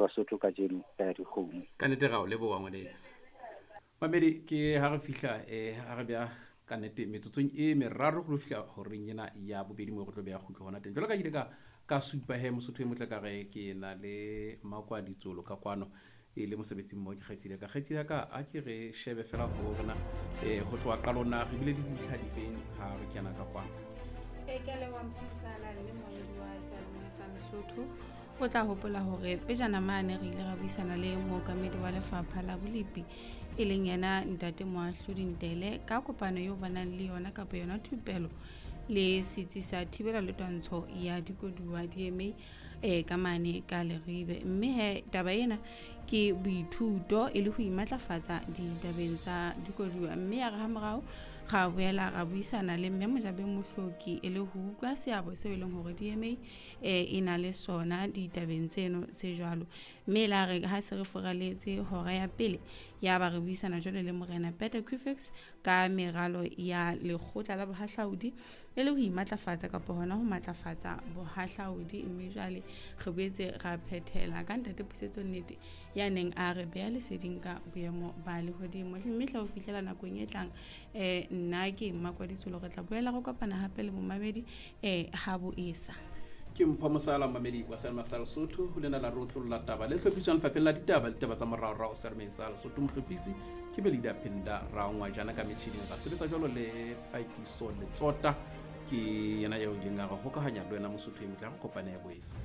Basotho kajeno ka ya dikgomo. Ka nnete ra o leboha ngwaneso. Mamedi ke ha re fihla ha re beha ka nnete metsotsong e meraro go lo fihla horeng ena ya bobedi moo re tlo beha kgutlo hona teng. Jwalo ka ile ka supa he Mosotho e motle ka re ke na le Makwa Ditsolo ka kwano e le mosebetsing mo ke kgaitsedi ya ka. Kgaitsedi ya ka a ke re shebe fela ho rona ho tloha qalong na re bile le dintlha difeng ha re kena ka kwano. Ee, ke a leboha Mpho Mosala mme moedi wa seyalemoya sa Lesotho. O tla hopola hore pejana mane re ile ra buisana le mookamedi wa lefapha la bolepi e leng yena Ntate Moahlodi Ntele ka kopano eo ba nang le yona kapa yona thupelo le setsi sa thibela le twantsho ya dikoduwa DMA ka mane ka Leribe. Mme he taba ena ke boithuto e le ho imatlafatsa ditabeng tsa dikoduwa. Mme ya re ha morao ra boela ra buisana le mme Mojabeng Mohloki e le ho utlwa seabo seo e leng hore DMA e na le sona ditabeng tseno tse jwalo. Mme la re ha se re furaletse hora ya pele ya ba re buisana jwalo le Morena Peter Kufex ka meralo ya lekgotla la bohahlaudi e le ho imatlafatsa kapa hona ho matlafatsa bohahlaudi. Mme jwale re boetse ra phethela ka Ntate Pusetso Nnete ya neng a re beha leseding ka boemo ba lehodimo. Mme hle ho fihlela nakong e tlang nna ke Mmakwa Ditsolo, re tla boela re kopana hape le momamedi ha bo esa. Ke Mpho Mosala, momamedi wa Selma sa Lesotho, ho lena la re otlolla taba le hlophiswang lefapheng la ditaba le ditaba tsa moraorao Sermeng sa Lesotho. Mohlophisi ke Belida Phinda Rangwajana ka metjhining. Ra sebetsa jwalo le Pakiso Letsota, ke yena eo ileng a re hokahanya le wena Mosotho e motle. Ha re kopane ya boesa.